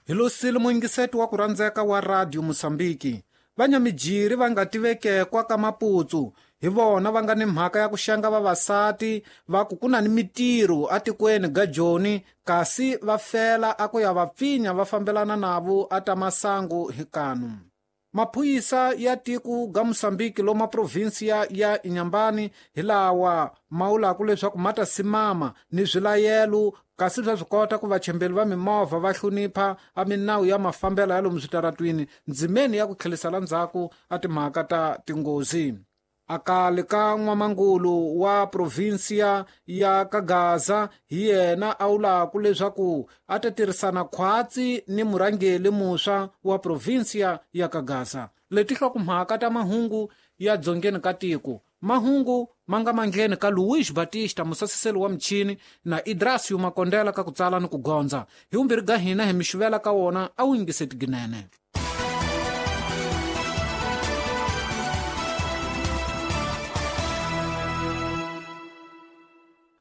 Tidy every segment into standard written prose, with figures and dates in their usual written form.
Hi losile muyingiseti wa ku rhandzeka wa Radio Mosambiki. Vanyamijiri va nga tivekekwa ka Maputsu hi vona va nga ni mhaka ya ku xenga vavasati va ku ku na ni mitirho atikweni ga Joni, kasi va fela a ku ya va pfinya va fambelana navo a ta masangu hi kanu. Maphorisa ya tiko ga Mosambiki loma provinsia ya Inhambane hi lawa ma vulaka leswaku ma ta simama ni swilayelo, kasi swa swi kota ku vachembeli va mimovha va hlonipha a minawu ya mafambelo ya lomu switaratwini ndzimeni ya ku tlhelisela ndzhaku a timhaka ta tinghozi. Akale ka n'wamangulu wa provinsia ya Kagaza hi yena a vulaka leswaku a ta tirhisana khwatsi ni murhangeri muntshwa wa provinsia ya Kagaza. Leti hlokomhaka ta mahungu ya dzongeni ka tiko, mahungu ma nga mandleni ka Luis Batista musasiseli wa michini na Idrasio Makondela ka ku tsala ni ku gondza. Hi vumbirhi ga hina hi mi xuvela ka wona a wu yingiseti ginene.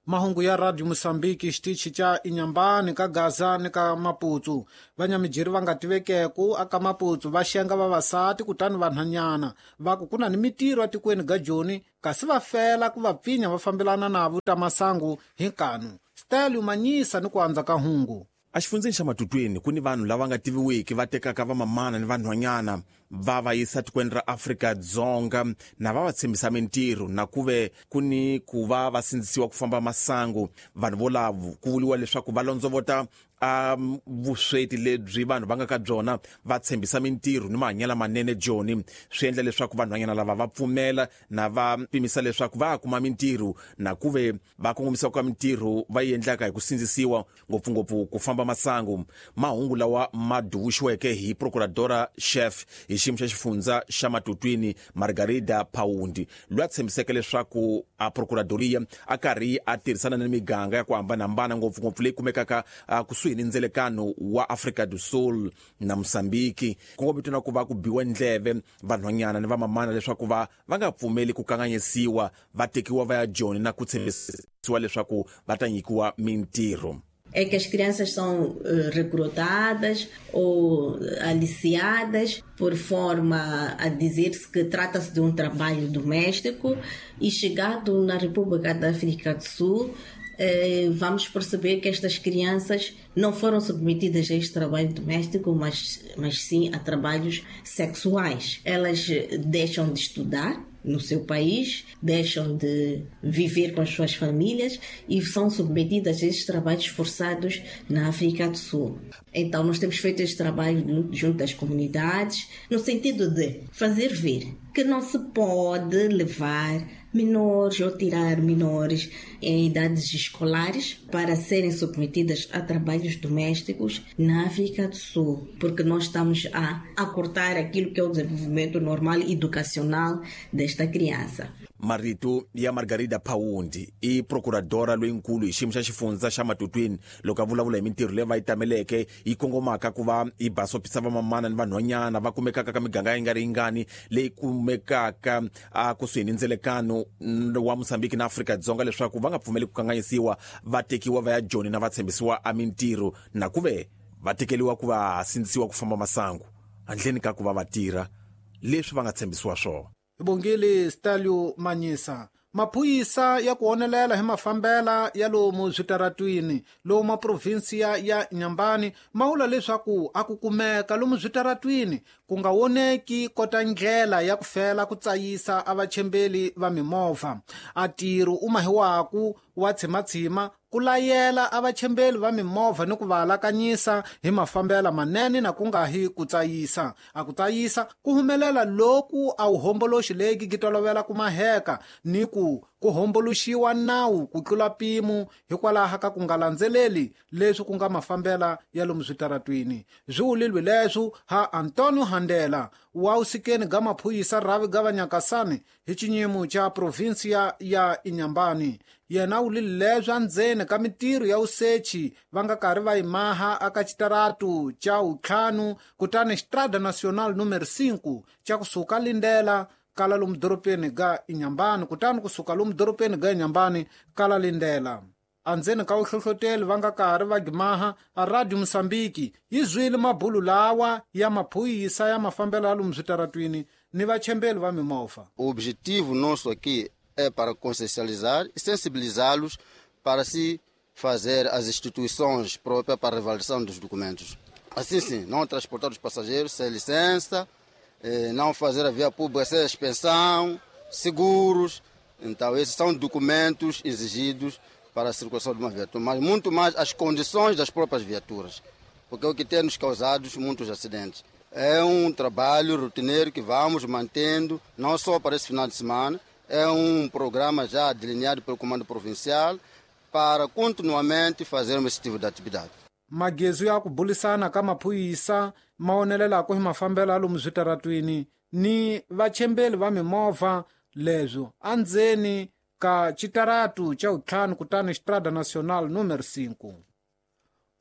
Mahungu ya Radio Mosambiki xitichi xa Inhambane ka Gaza ni ka Maputsu. Vanyamijiri va nga tivekeku aka Maputsu va xenga vavasati kutani vanhanyana va ku ku na ni mitirho atikweni ga Joni, kasi va fela ku va pfinya va fambelana navo ta masangu hi nkanu. Stelio Manyisa ni ku andza ka hungu. Exifundzeni xa Matutweni ku ni vanhu lava nga tiviwiki va tekaka vamamana ni vanhwanyana va va yisa tikweni ra Afrika-Dzonga na va va tshembisa mintirho, na ku ve ku ni ku va va sindzisiwa ku famba masangu. Vanhu volavo ku vuriwa leswaku va londzovota a vusweti lebyi vanhu va nga ka byona, va tshembisa mintirho ni mahanyelo manene Joni. Swi endla leswaku vanhwanyana lava va pfumela na va pimisa leswaku va kuma mintirho, na ku ve va kongomisiwa ka mintirho va yi endlaka hi ku sindzisiwa, ngopfungopfu ku famba masangu. Mahungu lawa ma duvuxiweke hi procuradora chef hi xiyimo xa xifundza xa Matutwini Margarida Paundi, loyi a tshembiseke leswaku a procuradoria a karhi a tirhisana ni miganga ya ku hambanahambana, ngopfungopfu leyi kumekaka kusuhi ni ndzelekano wa Afrika do Sul na Mosambiki, kongomito na ku va ku biwa ndleve vanhwanyana ni vamamana leswaku va nga pfumeli ku kanganyisiwa, va tekiwa va ya Joni na ku tshembisiwa leswaku va ta nyikiwa mintirho. É que as crianças são recrutadas ou aliciadas por forma a dizer-se que trata-se de um trabalho doméstico, e chegado na República da África do Sul, vamos perceber que estas crianças não foram submetidas a este trabalho doméstico, mas sim a trabalhos sexuais. Elas deixam de estudar no seu país, deixam de viver com as suas famílias e são submetidas a estes trabalhos forçados na África do Sul. Então nós temos feito este trabalho junto às comunidades, no sentido de fazer ver que não se pode levar menores ou tirar menores em idades escolares para serem submetidas a trabalhos domésticos na África do Sul, porque nós estamos a acortar aquilo que é o desenvolvimento normal educacional desta criança. Marito ya Margarida Paundi i procuradora loyinkulu hi xiyimo xa xifundza xa Matutwini, loko a vulavula hi mintirho leyi va yi tameleke yi kongomaka ku va yi basopisa vamamana ni vanhwanyana va kumekaka ka miganga yi nga ri yingani leyi kumekaka a kusuhi ni ndzelekano wa Mosambiki na Afrika-Dzonga, leswaku va nga pfumeli ku kanganyisiwa, va tekiwa va ya Joni na va tshembisiwa a mintirho, na ku ve va tekeriwa ku va sindzisiwa ku famba masangu handleni ka ku va va tirha leswi va nga tshembisiwa swona. Bongile Stalio Manyisa. Maphorisa ya ku onelela hi mafambela ya lomu switaratwini lomu provinsia ya Inhambane ma vula leswaku a ku kumeka lomu switaratwini ku nga voneki kota ndlela ya ku fela ku tsayisa a vachembeli va mimovha. A ntirho u mahiwaku wa tshimatshima ku layela a vachembeli va mimovha ni ku va alakanyisa hi mafambela manene na ku nga hi ku tsayisa. A ku tsayisa ku humelela loku a wu homboloxi leki ki tolovela ku maheka ni ku homboloxiwa nawu ku tlula mpimo hikwalaho ka ku nga landzeleli leswi ku nga mafambela ya lomu switaratwini. Swi vulilwe leswo ha Antonio Handela wa usikeni ga maphorisa rhavi ga vanyakasani hi xinyimo xa provinsia ya Inhambane. Yena u lile leswi endzeni ka mintirho ya usechi va nga karhi va yi maha aka xitaratu xa vuntlhanu kutani Estrada Nacional número 5 xa kusuka Lindela kala lomu dorobeni ga Inhambane, kutani kusuka lomu dorobeni ga Inhambane kala Lindela. Andzeni ka vuhlohloteli va nga karhi va gimaha a Radio Mosambiki yi zwile mabulu lawa ya maphorisa ya mafambelo ya lomu switaratwini ni vachembeli va mimovha. O objetivo nosso aqui é para consciencializar e sensibilizá-los para se fazer as instituições próprias para a revalidação dos documentos. Assim sim, não transportar os passageiros sem licença, não fazer a via pública sem expensão, seguros. Então esses são documentos exigidos para a circulação de uma viatura, mas muito mais as condições das próprias viaturas, porque é o que tem nos causado muitos acidentes. É um trabalho rotineiro que vamos mantendo, não só para esse final de semana, é um programa já delineado pelo Comando Provincial para continuamente fazermos esse tipo de atividade. Magezu ya ku bulisana ka maphorisa ma onelelaka hi mafambelo ya lomu switaratwini ni vachembeli va mimovha leswo andzeni ka xitaratu xa vuntlhanu kutani Estrada Nacional número 5.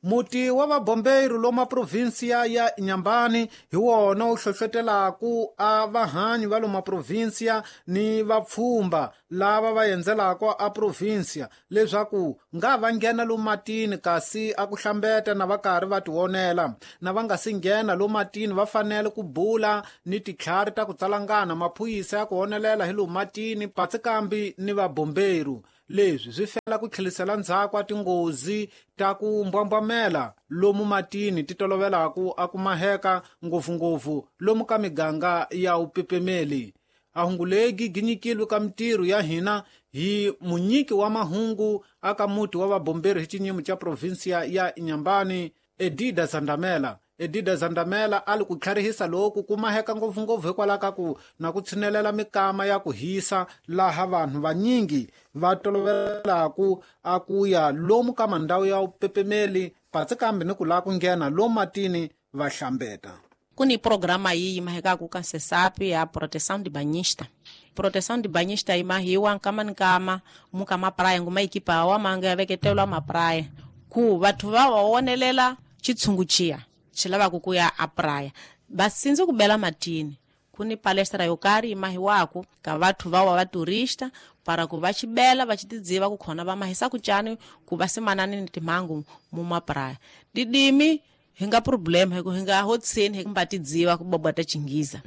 Muti wa vabombeiro loma provinsia ya Inhambane hi wona wu hlohlotelaku a vahanyi va loma provinsia ni vapfhumba lava va endzelaka a provinsia leswaku nga va nghena lomu matini kasi a ku hlambeta na va karhi va tionela na va nga si nghena lomu matini va fanele ku bula ni titlhari ta ku tsalangana maphorisa ya ku onelela hi lomu matini patsikambi ni vabombeiro. Leswi swi fela ku tlhelisela ndzhaku a tinghozi ta ku mbwambwamela lomu matini ti tolovelaka a ku maheka ngopfungopfu lomu ka miganga ya upepemeli. A hungulegi ginyikilwe ka mitirho ya hina hi munyiki wa mahungu aka muti wa vabomberi hi xinyimo xa provinsia ya Inhambane Edida Zandamela. Edida Zandamela a li ku tlharihisa loku ku maheka ngopfungopfu hikwalaho ka ku na ku tshinelela mikama ya ku hisa laha vanhu vanyingi va tolovelaka a ku ya lomu ka mandhawu ya upepemeli patsikambi ni ku lava ku nghena lomu matini va hlambeta. Ku ni programa yi mahekaku ka SESAP ya proteção de banhista. Proteção de banhista imahiwa nkama ni nkama muka mapraia nguma ekipa awa manga ya veketelwa mapraia ku vathu va va wonelela xitshungu xiya xi lavaka ku ya a praia va sindzi ku bela matini. Ku ni palestra yo karhi yi mahiwaku ka vathu va wa va turista para ku va xibela va xi tidziva ku khona va mahisa ku cani ku va simanani ni timhangu mu mapraia. Didimi hi nga problem hi ku hi nga hotsini hi mba tidziva ku bobota xinghiza.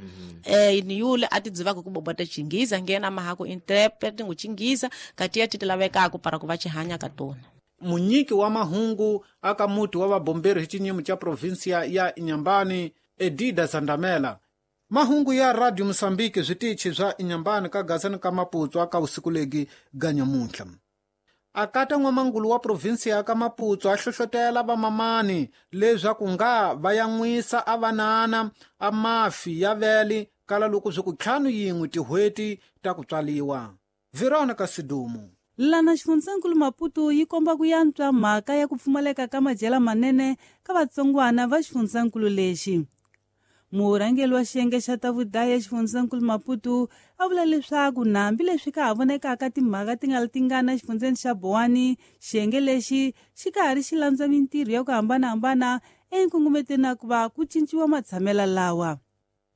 Ni yule a tidzivaka ku bobota xinghiza nghena mahaku interpret ngu xinghiza kati ya ti lavekaka para ku va xi hanya ka tona. Munyiki wa mahungu aka muti wa vabomberi hi xinyimo xa provinsia ya Inhambane Edida Zandamela. Mahungu ya Radio Mosambiki switichi swa Inhambane ka Gazani ka Maputo aka usiku legi ganyamuntlha. Akata n'wamangulu wa provinsia ka Maputo a hlohlotela vamamani leswaku nga va yan'wisa a vanana a mafi ya vele kala loko swi ku 51 tin'hweti ta ku tswaliwa. Veronica Sidumo. Lana xifundzankulu Maputo yi komba ku yantswa mhaka ya ku pfumaleka ka madyela manene ka vatsongwana va xifundzankulu lexi. Murhangeri wa xiyenge xa ta vudaya xifundzankulu Maputo a vula leswaku nambi leswi ka ha vonekaka timhaka ti nga tingana xifundzeni xa Bowani, xiyenge lexi xi ka ha ri xi landza mintirho ya ku hambanahambana enkungumeteni na ku va ku cinciwa matshamelo lawa.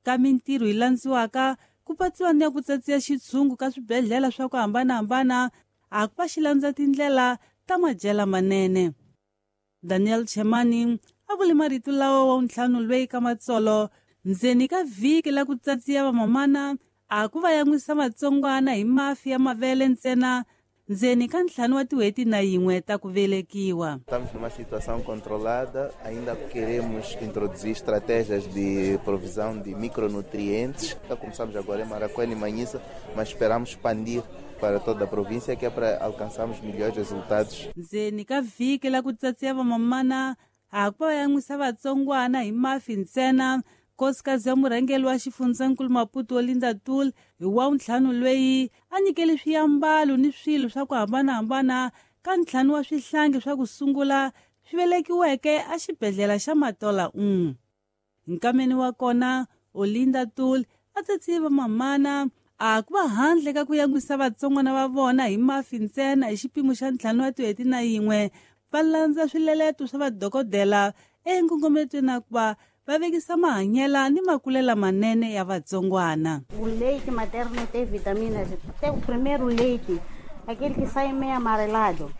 Ka mintirho yi landziwaka ku patsiwa ni ya ku tsatsiya xitshungu ka swibedhlele swa ku hambanahambana a ku va xi landza tindlela ta madyela manene. Daniel Chemani a vule marito lawa wa ntlhanu lweyi ka matsolo ndzeni ka vhiki la ku tsatsiya vamamana a ku va yan'wisa vatsongwana hi mafi ya mavele ntsena ndzeni ka 5 wa tin'hweti na yin'we ta ku velekiwa. Estamos numa situação controlada, ainda queremos introduzir estratégias de provisão de micronutrientes. Já começamos agora em Maracuene e Manhissa, mas esperamos expandir para toda a província, que é para alcançarmos melhores resultados. Ndzeni ka vhiki la ku tsatsiya vamamana a ku va yan'wisa vatsongwana hi mafi ntsena. Nkosikazi ya murhangeri wa xifundzankulu Maputo Olinda Tul hi wa ntlhanu lweyi a nyikele swiambalo ni swilo swa ku hambanahambana ka 5 wa swihlangi swa ku sungula swi velekiweke a xibedhlele xa Matola 1. Nkameni wa kona Olinda Tul a tsatsiye vamamana a ku va handle ka ku yan'wisa vatsongwana va vona hi mafi ntsena hi xipimo xa 5 wa tin'hweti na yin'we va landza swileleto swa vadokodela enkungumetweni na ku va va vekisa mahanyela ni makulela manene ya vatsongwana. O leite materno tem vitaminas. Tem o primeiro leite, aquele que sai meio amarelado.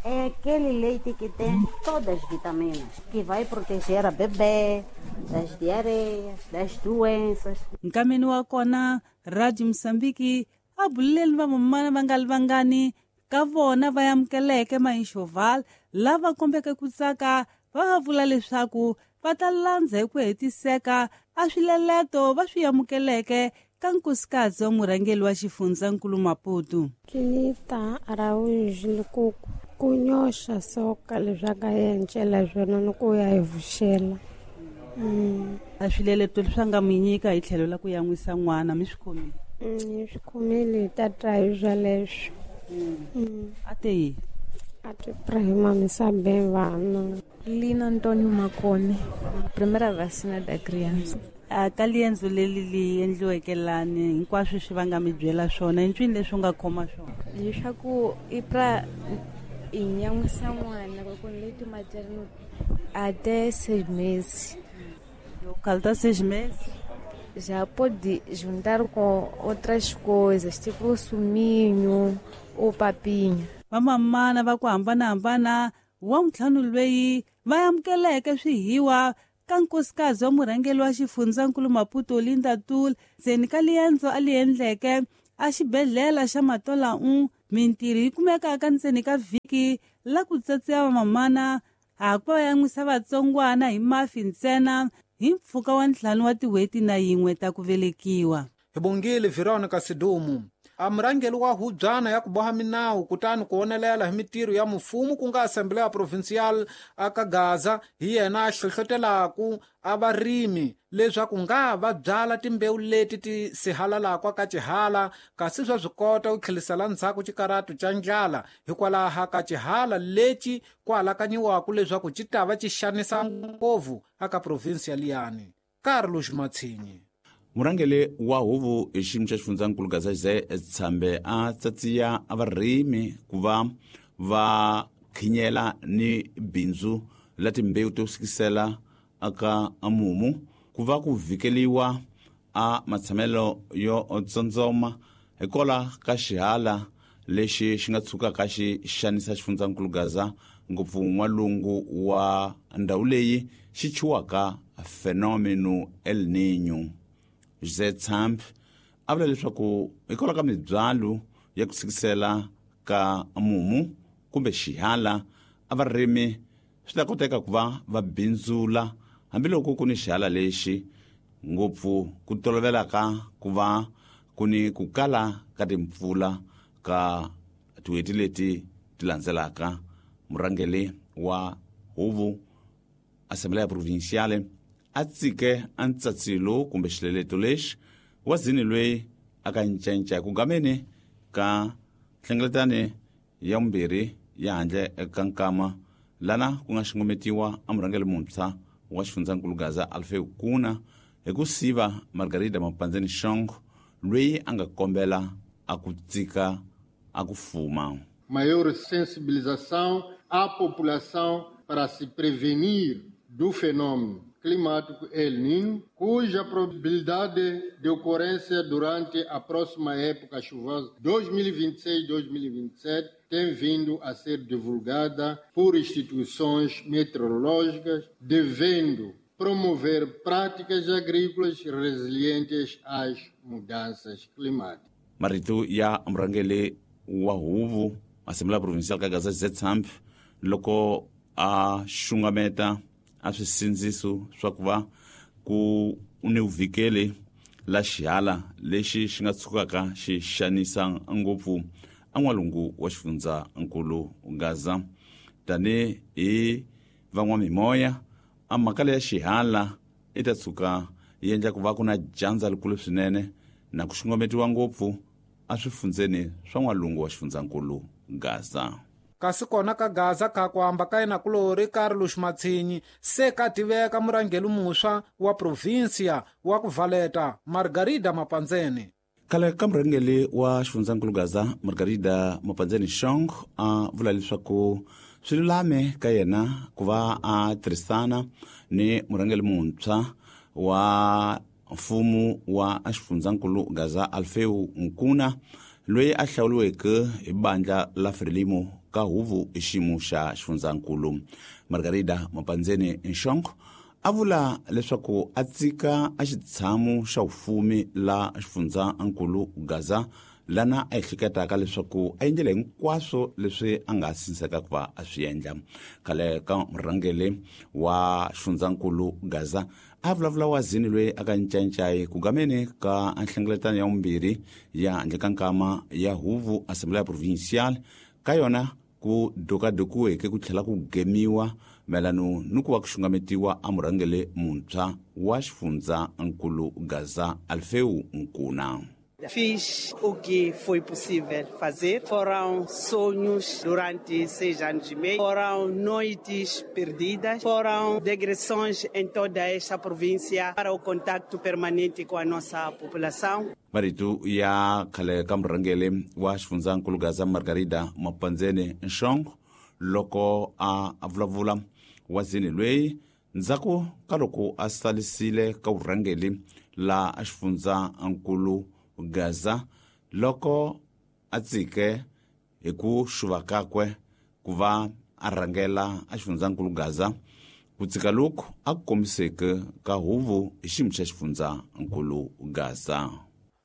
É aquele leite que tem todas as vitaminas, que vai proteger a bebê das diarreias, das doenças. Nkameni wa kona Radio Mozambique a buleleni vamamana va nga li vangani ka vona va amukeleke mainxoval lava kombeke ku tsaka va va vula leswaku va ta landza hi ku hetiseka a swileleto va swi amukeleke ka nkosikazi wa murhangeri wa xifundzankulu Maputo. Kinita Araújo Lukuku kunyoxa soka leswaku a encela swona ni ku ya hi vuxela. A swileleto leswi a nga mi nyika hi tlhelo la ku yan'wisa n'wana mi swi khomile? Hi swi khomile hi ta twa hi swoleswo. A te yini? A te prahimamisa bem vana. Lina Antônio Makone, primeira vacina da criança. A ka liendzo leri li endliweke lani hinkwaswo swi va nga mi byela swona i ncwini leswi u nga khoma swona? Leswaku i pra i nyan'wisa n'wana loko leite materno até 6 meses. Falta 6 meses? Já pode juntar com outras coisas, tipo suminho ou papinha. Vamamana va ku hambanahambana wa ntlhanu loyi va amukeleke swihiwa ka nkosikazi wa murhangeri wa xifundzankulu Maputo Linda Tul ndzeni ka liendzo a li endleke a xibedhlele xa Matola 1 mintirho yi kumekaka ndzeni ka vhiki la ku tsatsiwa vamamana ha ku va yan'wisa vatsongwana hi mafi ntsena hi mpfhuka wa 5 wa tin'hweti na 1 ta ku velekiwa. Hi bongile Veronica Sidumu. A murhangeri wa hubyana ya ku boha minawu kutani ku onelela hi mitirho ya mfumo ku nga Assembleia Provincial aka Gaza hi yena a hlohlotelaku a varimi leswaku nga va byala timbewu leti ti sihalalaka ka xihala kasi swa swi kota ku tlhelisela ndzhaku xikaratu xa ndlala hikwalaho ka xihala lexi ku alakanyiwaka leswaku xi ta va xi xanisa ngopfu aka provinsi ya liyani. Carlos Matsinyi. Murhangeri wa huvo hi xiyimo xa xifundzankulu Gaza Jose Tshambe a tsatsiya varimi ku va va khinyela ni bindzu la timbewu to sikisela aka mumu ku va ku vhikeliwa a matshamelo yo tsondzoma hikola ka xihala lexi xi nga tshukaka xi xanisa xifundzankulu Gaza ngopfu n'walungu wa ndhawu leyi xi chuwaka fenômeno El Niño. José Tsamp a vula leswaku hikwalaho ka mibyalo ya ku sikisela ka mumu kumbe xihala a varimi swi ta koteka ku va va bindzula hambiloko ku ni xihala lexi ngopfu ku tolovelaka ku va ku ni ku kala ka timpfula ka tin'hweti leti ti landzelaka. Murhangeri wa huvo Assembleia Provinciale a tsike a ntsatsilo kumbe xileleto lexi wa zini loyi a ka ncenca ku gameni ka nhlengeletano ya vumbirhi ya handle ka nkama lana ku nga xungumetiwa a murhangeri muntshwa wa xifundzankulu Gaza Alfeu Kuna hi ku siva Margarida Mapandzeni Shong loyi a nga kombela a ku tsika a ku fuma. Maior sensibilização à população para se prevenir do fenômeno climático El Niño, cuja probabilidade de ocorrência durante a próxima época chuvosa 2026-2027 tem vindo a ser divulgada por instituições meteorológicas, devendo promover práticas agrícolas resilientes às mudanças climáticas. Marito ya murhangeri wa huvo Assembleia Provincial ka Gaza Jose Tsamp loko a xungameta a swisindziso swa ku va ku ni vhikeli la xihala lexi xi nga tshukaka xi xanisa ngopfu a n'walungu wa xifundzankulu Gaza. Tani hi van'wamimoya a mhaka leya xihala i ta tshuka yi endla ku va ku na dyandza likulu swinene na ku xungumetiwa ngopfu a swifundzeni swa n'walungu wa xifundzankulu Gaza. Kasi kona ka Gaza ka ku hamba ka yena kulori Carlos Matsinyi se ka tiveka murhangeri muntshwa wa provinsia wa ku valeta Margarida Mapandzeni. Khale ka murhangeri wa xifundzankulu Gaza Margarida Mapandzeni Shong a vula leswaku swi lulame ka yena ku va a tirhisana ni murhangeri muntshwa wa mfumo wa xifundzankulu Gaza Alfeu Nkuna loyi a hlawuriweke hi bandla la Frelimo ka huvo hi xiyimo xa xifundzankulu. Margarida Mapandzeni Nxongo a vula leswaku a tsika a xitshamo xa vufumi la xifundzankulu Gaza lana a ehleketaka leswaku a endlile hinkwaswo leswi a nga sinseka ku va a swi endla. Khale ka murhangeri wa xifundzankulu Gaza a vulavula wazini loyi a ka ncancai ku gameni ka nhlengeletano ya vumbirhi ya handle ka nkama ya huvo Assembleia Provincial ka yona ku dokadokiweke ku tlhela ku gemiwa mayelano ni ku va ku xungametiwa a murhangeri muntshwa wa xifundzankulu Gaza Alfeu Nkuna. Fiz o que foi possível fazer. Foram sonhos durante 6 anos e meio, foram noites perdidas, foram digressões em toda esta província para o contacto permanente com a nossa população. Marito ya khale ka murhangeri wa xifundzankulu Gaza Margarida Mapandzeni Nxongo loko a vulavula wazini loyi ndzhaku ka loko a salisile ka vurhangeri la xifundzankulu Gaza loko a tsike hi ku xuva kakwe ku va a rhangela a xifundzankulu Gaza ku tsika loku a ku kombiseke ka huvo hi xiyimo xa xifundzankulu Gaza.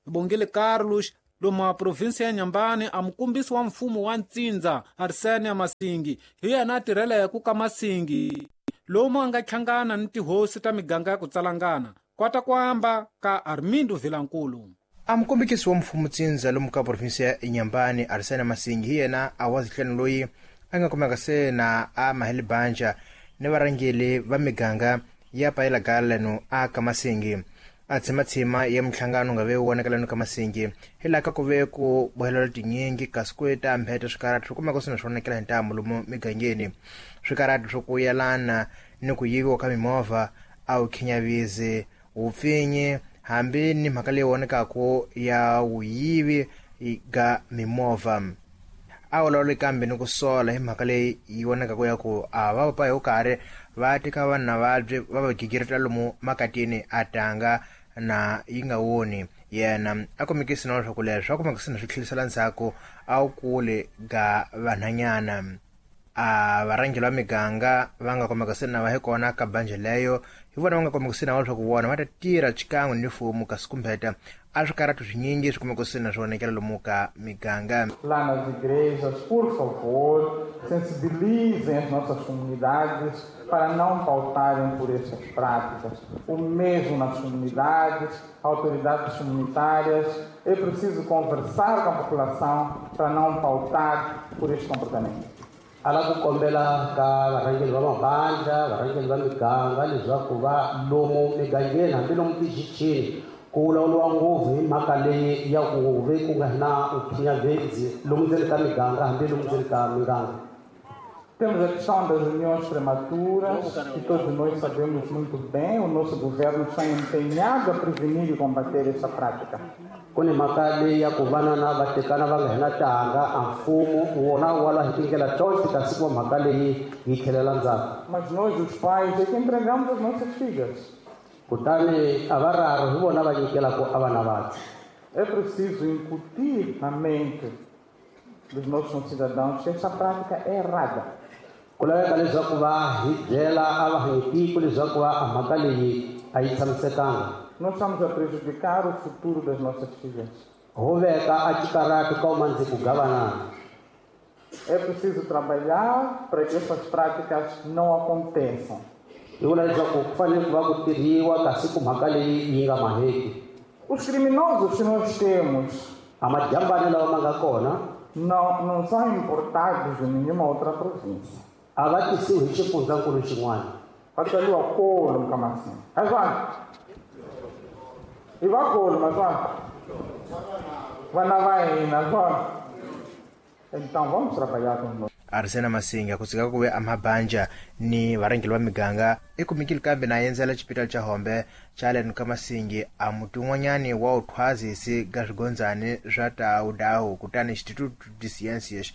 Bongile Carlos lomu a provinsi ya Nyambani a mukombisi wa mfumo wa Ntsindza Arsenia Masingi hi yena a tirheleke ka Masingi lomu a nga hlangana ni tihosi ta miganga ya ku tsalangana kwata ku amba ka Armindo Vilankulu. A mukombekisi wa mfumo Ntsindza lomu ka provinsi ya Nyambani Arsenia Masingi hi yena a wa zihleni loyi a nga kumeka se na a maheli banja ni varhangeri va miganga ya payelagala a ka Masingi. A tshimatshima ya minhlangano nga ve vonakalano ka Masingi hi laha ka ku ve ku bohelela tinyingi kasi ku ta mbheta swikarati swi kumeka swi na swi vonakela hi ntamu lomu migangeni. Swikarati swo ku yelana ni ku yiviwa ka mimovha a wu khinyavisi wupfinyi hambi ni mhaka leyi vonekaku ya wuyivi ga mimovha. A vulavuli kambe ni ku sola hi mhaka leyi yi vonekaku ya ku a va papa hi karhi va teka vanhu na vabyi va va gigirita lomu makatini a tanga na yi nga woni yena a komekisi na leswaku leswi a komekisi na swi tlhelisela ndzhaku a wu kule ga vanhanyana. A varhangeri va miganga va nga kumeka se na va hi kona ka banje leyo hi vona va nga kumeka se na leswaku vona va ta tirha xikan'we ni mfumo kasi kumbeta a swikarati swinyingi swi kumeka se na swi vonakela lomu ka miganga. Lá nas igrejas, por favor, sensibilizem as nossas comunidades para não pautarem por essas práticas. O mesmo nas comunidades, autoridades comunitárias, é preciso conversar com a população para não pautar por este comportamento. Ala ku kombela ka varhangeri va mabandla, varhangeri va miganga leswaku va lomu migangeni hambi lomu tixichini ku vulavuriwa ngopfu hi mhaka leyi ya ku ve ku nga na vukhinyavezi lomu ndzeni ka miganga hambi lomu ndzeni ka miganga. Temos a questão das uniões prematuras, que todos nós sabemos muito bem, o nosso governo está empenhado a prevenir e combater essa prática. Ku ni mhaka leyi ya ku vana na va tekana va nga hina tanga a mfumo wona wa lwa hi tindlela tonke kasi ku mhaka leyi yi tlhelela ndzhaku. Mas nós, os pais, é que entregamos as nossas filhas. Kutani a va raro hi vona va nyikelaka a vana vathu. É preciso incutir na mente dos nossos cidadãos que essa prática é errada. Ku laveka leswaku va hi byela a va hanyitiko leswaku va a mhaka leyi a yi tshamisekanga. Nós estamos a prejudicar o futuro das nossas filhas. Ho veka a xikarati ka umandzi ku gavanana. É preciso trabalhar para que essas práticas não aconteçam. Hi vula leswaku ku fanele ku va ku tirhiwa kasi ku mhaka leyi yi nga maheki. Os criminosos que nós temos a majambani lawa ma nga kona não são importados de nenhuma outra província. A va tisiwi hi xifundzankulu xin'wana. Va tswariwa kolo Mkamasini. Azwana. I va kolo mazwana. Vana va hina zwona. Então vamos trabalhar com nós. Arsena Masinga ku tsika ku ve a mabanja ni varhangeri va miganga i kumekile kambe na endzela xipitali xa Hombe xa le ka Masingi a muti un'wanyani wa uthwazisi ga swigondzani swa tawudawu kutani Instituto de Ciências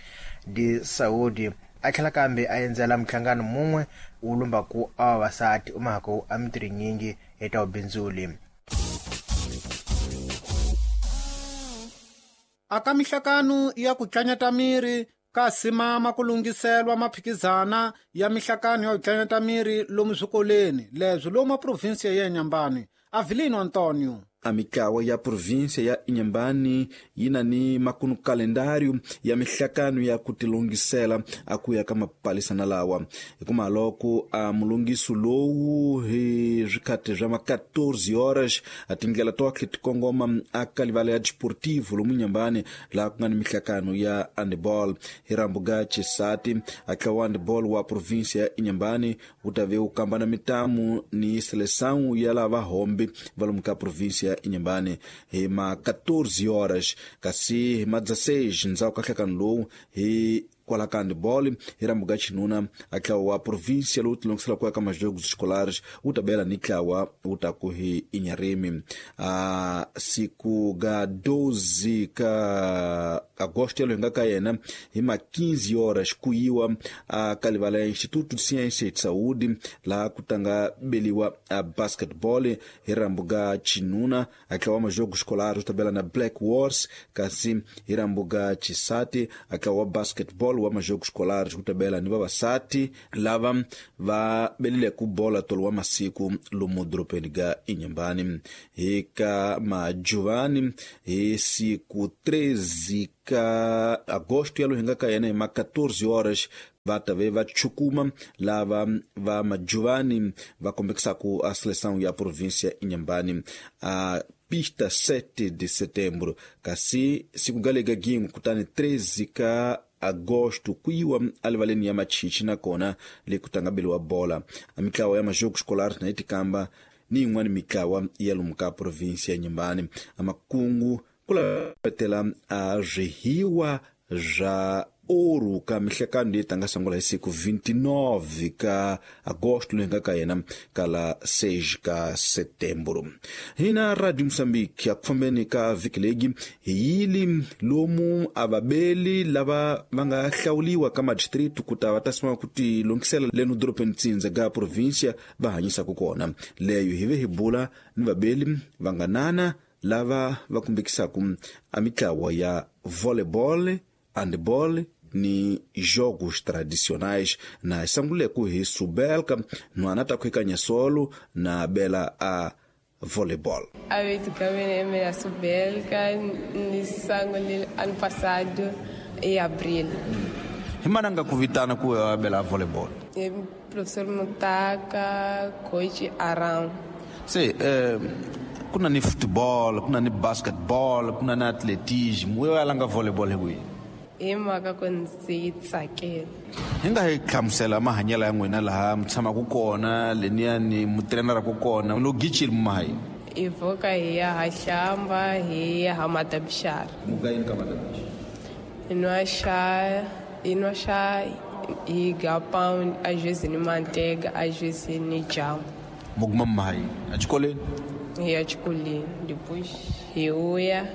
de Saúde a tlhela kambe a endzela minhlangano mun'we wu lumbaku a vavasati u mhaka a mintirho yinyingi hi ta vubindzuli. Aka mihlakano ya ku tlanyata miri Kasi mama ku lunghiselwa maphikizana ya mihlakano ya ku miri lomu swikolweni leswi lomu provinsia ya Inhambane. Avelino Antonio. A mitlawa ya província ya Inhambane yi na ni makunu kalendário ya mihlakano ya ku tilungisela a ku ya ka mapalisana lawa. Hikuma loko a mulungiso lowu hi swikhati swa ma 14 horas a tindlela to ti kongoma a ka livala ya Desportivo lomu Inhambane laha ku nga ni mihlakano ya handball. Hi rambuga Chisati a tlawa handball wa província ya Inhambane wu ta ve wu kamba na mitamu ni seleção ya lava hombe va lomu ka província Inhambane hi ma 14 horas, kasi hi ma 16 ndzhaku ka nhlekano lowu hi kwala ka handball hi rambuga xinuna a tlawa wa província lowu tilungisela ku ya ka majogos escolares wu ta bela ni tlawa wu ta ku hi Inharime. A siku ga 12 ka agosto yalo hi nga ka yena hi ma 15 horas ku yiwa a ka livala ya Instituto de Ciência e de Saúde laha ku tanga beliwa a basketball hi rambuga xinuna a tlawa majogos escolares wu ta bela na Black Wars, kasi hi rambuga xisati a tlawa basketball wa majogos escolares ku tabela ni vavasati lava va belile ku bola tolo wa masiku lomu doropeni ga Inhambane. Hi ka majuvani hi siku 13 ka agosto yalo hi nga ka yena hi ma 14 horas va ta ve va chukuma lava va majuvani va kombekisaku a seleção ya província Inhambane a pista 7 de setembro, kasi siku galega gingu kutani 13 ka agosto kuyiwa alivaleni ya Machichi nakona le kutangabeliwa bola. A mitlawa ya majogos escolares na itikamba ni yin'wana mitlawa ya lomu ka província ya Inhambane. A makungu ku lavetela a swihiwa swa ouro ka mihlekano leyi tanga sungula hi siku 29 ka agosto leyi nga ka yena ka la 6 ka setembro. Hina Radio Mozambique a ku fambeni ka vhiki legi hi yili lomu a vabeli lava va nga hlawuliwa ka madistritu ku ta va ta sima ku ti lunghisela leno doropeni tsindza ga província va hanyisaka kona. Leyo hi ve hi bula ni vabeli va nga nana lava va kumbekisaka a mitlawa ya volleyball, handball ni jogos tradicionais. Na sanguleku hi subelka nwana ta kuikanya solo na bela a voleibol. A vez a subelka ni sangule ano passado em abril. Himananga kuvitana ku a bela voleibol. E professor Mutaka, coach Aram. Se kuna ni futebol, kuna ni basketball, kuna ni atletismo, wewe alanga volleybol hi hi mhaka ku ndzi yi tsakela. Hi nga hi hlamusela mahanyelo ya n'wina laha mi tshamaka kona leniyani mu treneraku kona lo gichile mumahayi? Hi voka hi ya ha hlamba hi ya ha madabixara. Muka yini ka madabixara? Hi nwa xa hi ga pound às vezes ni manteiga, às vezes ni jamu. Mu guma mumahayi a xikolweni? Hi ya xikolweni, depois hi vuya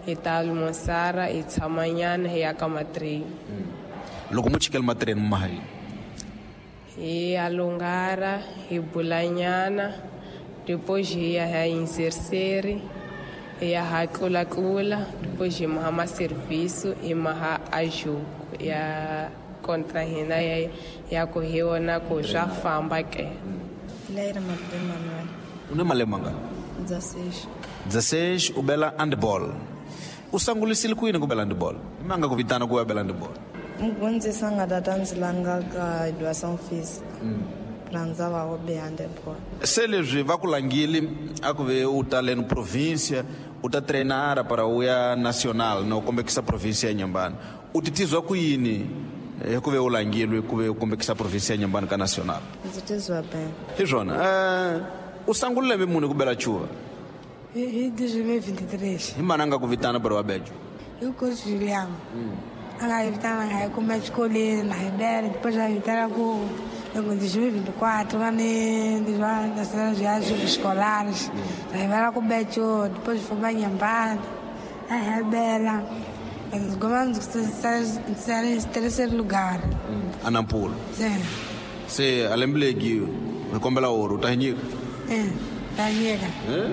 hi ta almoçar, hi tshamanyana hi ya ka matreni. Loko mu chikela matreni mumahayi? Hi ya lungara, hi bulanyana, depois hi ya ha inserseri, hi ya ha tlulatlula, depois hi maha maserviço, hi maha a jogo ya contra hina ya ku hi wona ku swa famba ke. Leira Malume Manuel. U na malembe mangani? 16. 16 u bela handball. U sangulisile ku yini ku bela handball? I manga ku vitana ku ya bela handball? Mugondzisi a nga tata ndzi langa ka educação física. Rhandza va wo be handball. Se leswi va ku langile a ku ve u ta leno província, u ta treinara para u ya nacional no kombekisa província ya Inhambane. U titizwa ku yini hi ku ve u langilwe ku ve u kombekisa província ya Inhambane ka nacional? Ndzi tizwa bem. Hi swona. U sungule lembe muni ku bela chuva? Hi 2023. Hi mana nga ku vitana para wa bejo? Hi coach William. A nga hi vitana nga hi kuma exikolweni na hi bela, depois a hi vitana ku em 2024 lá nas viagens escolares. Aí vai lá com o Beto, depois foi para Inhambane, aí Bela. Ganhamos terceiro lugar. Anampolo. Sim. Se a lembre que recombela ouro, tá nyika? É, tá nyika.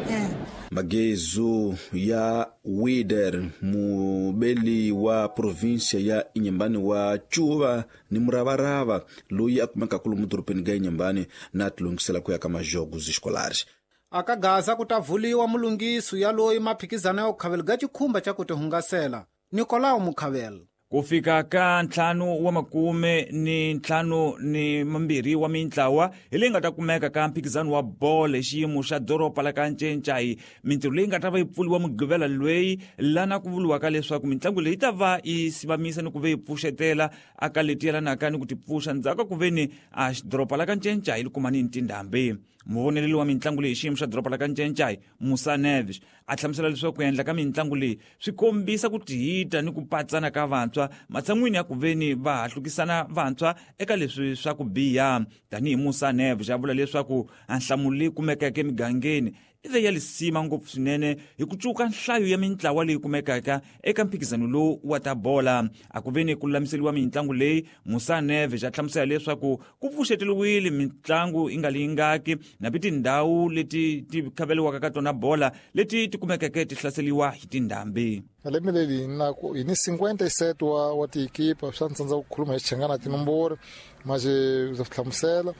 É. Magezu ya Wider, mubeli wa província ya Inhambane wa Chuva ni muravarava loyi a kumekaka lomu dorobeni ga Inhambane na tilungisela ku ya ka majogos escolares. Aka Gaza ku ta vuliwa mulungiso ya loyi maphikizano ya ku khavela ga chikhumba cha ku tihungasela. Nicolau Mukhavela. Ku fika ka 52 wa mintlawa hi leyi nga ta kumeka ka mphikizano wa bolo hi xiyimo xa doroba la ka Ncencai. Mintirho leyi nga ta va yi pfuriwa Mugqivela loyi lana ku vuriwaka leswaku mitlangu leyi ta va yi sivamisa ni ku ve yi pfuxetela aka leti yelanaka ni ku ti pfuxa ndzhaku ka ku ve ni a doroba la ka Ncencai li kuma ni tindhambi. Muvoneleli wa mitlangu leyi xiyimo xa doroba la ka Ncencai, Musa Neves, a hlamusela leswaku ku endla ka mitlangu leyi swi kombisa ku tihita ni ku patsana ka vantshwa matshan'wini ya ku veni va hahlukisana vantshwa eka leswi swa ku biha. Tanihi Musa Neves a vula leswaku a nhlamulo leyi kumekaka emigangeni i ve ya lisima ngopfu swinene hi ku cuka nhlayo ya mintlawa leyi kumekaka eka mphikizano lowu wa ta bola. A ku veni ku lulamiseriwa mitlangu leyi, Musa Neves a hlamusela leswaku ku pfuxeteriwile mitlangu yi nga lingaki napi tindhawu leti ti khaveliwaka ka tona bola leti ti kumekeke ti hlaseriwa hi tindhambi. Lembe leri hi ni 57 wa tiekipa swa ni tsandza ku khuluma hi Xichangana tinomboro mas ndza swi hlamusela.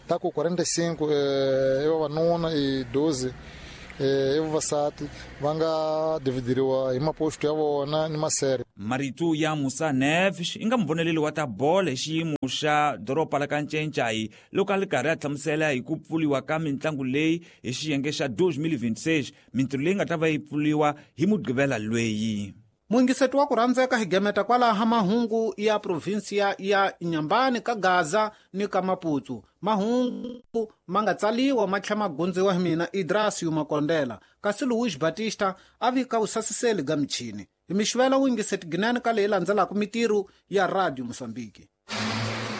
Ta ku 45 i vavanuna i 12 i vavasati va nga dividiriwa hi maposto ya vona ni masere. Marito ya Musa Neves i nga muvoneleli wa ta bola hi xiyimo xa doroba la ka Ncencai loko a li karhi a hlamusela hi ku pfuriwa ka mitlangu leyi hi xiyenge xa 2026, mintirho leyi nga ta va yi pfuriwa hi Mugqivela loyi. Muingiseti wa ku rhandzeka hi gemeta kwalaha mahungu ya provinsia ya Inhambane ka Gaza ni ka Maputo. Mahungu ma nga tsaliwa ma tlhela ma gundziwa hi mina Idrasio Makondela, kasi Luis Batista a vika vusasiseli ga michini. Hi mixivela wuingiseti ginene ka leyi landzelaka mitirho ya Radio Mozambique.